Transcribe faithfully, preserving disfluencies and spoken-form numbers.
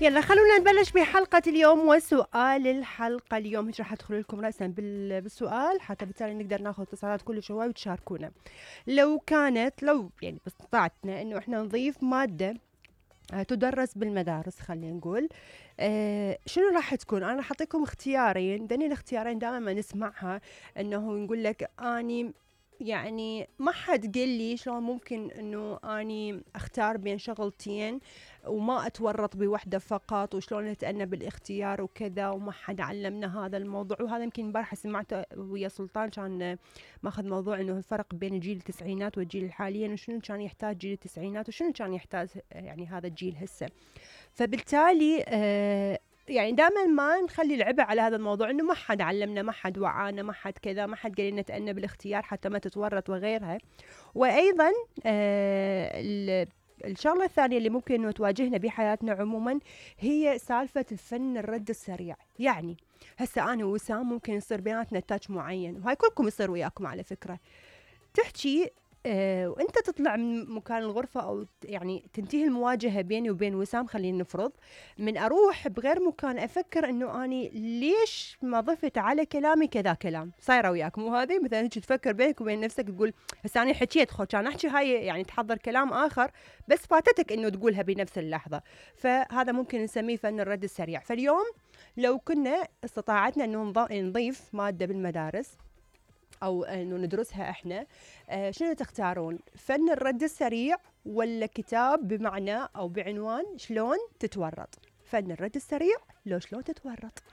يلا خلونا نبلش بحلقة اليوم. وسؤال الحلقة اليوم هيك راح ادخل لكم رأسا بالسؤال حتى بالتالي نقدر ناخذ اتصالات كل شوي وتشاركونا. لو كانت لو يعني باستطاعتنا انه احنا نضيف مادة تدرس بالمدارس، خلينا نقول آه شنو راح تكون؟ انا راح اعطيكم اختيارين. دني الاختيارين دائما ما نسمعها انه نقول لك اني يعني ما حد قال لي شلون ممكن انه اني اختار بين شغلتين وما اتورط بوحده فقط، وشلون اتأنى بالاختيار وكذا، وما حد علمنا هذا الموضوع. وهذا يمكن امبارح سمعته ويا سلطان كان ماخذ موضوع انه الفرق بين الجيل التسعينات والجيل الحالي، وشنو كان يحتاج جيل التسعينات وشنو كان يحتاج يعني هذا الجيل هسه. فبالتالي آه يعني دائما ما نخلي العبء على هذا الموضوع، انه ما حد علمنا، ما حد وعانا، ما حد كذا، ما حد قال لنا تأنى بالاختيار حتى ما تتورط وغيرها. وايضا آه الشغله الثانيه اللي ممكن انه تواجهنا بحياتنا عموما هي سالفه الفن الرد السريع. يعني هسه انا ووسام ممكن يصير بيناتنا تاتش معين، وهاي كلكم يصير وياكم على فكره، تحكي آه وانت تطلع من مكان الغرفة او يعني تنتهي المواجهة بيني وبين وسام، خلينا نفرض من اروح بغير مكان افكر انه اني ليش ما ضفت على كلامي كذا كلام. صايرة وياكم وهذه مثلا هيك تفكر بينك وبين نفسك تقول هسه انا حكيت خو كان احكي هاي، يعني تحضر كلام اخر بس فاتتك انه تقولها بنفس اللحظة. فهذا ممكن نسميه فن الرد السريع. فاليوم لو كنا استطاعتنا انه نضيف مادة بالمدارس او انه ندرسها احنا، آه شنو تختارون؟ فن الرد السريع ولا كتاب بمعنى او بعنوان شلون تتورط؟ فن الرد السريع لو شلون تتورط.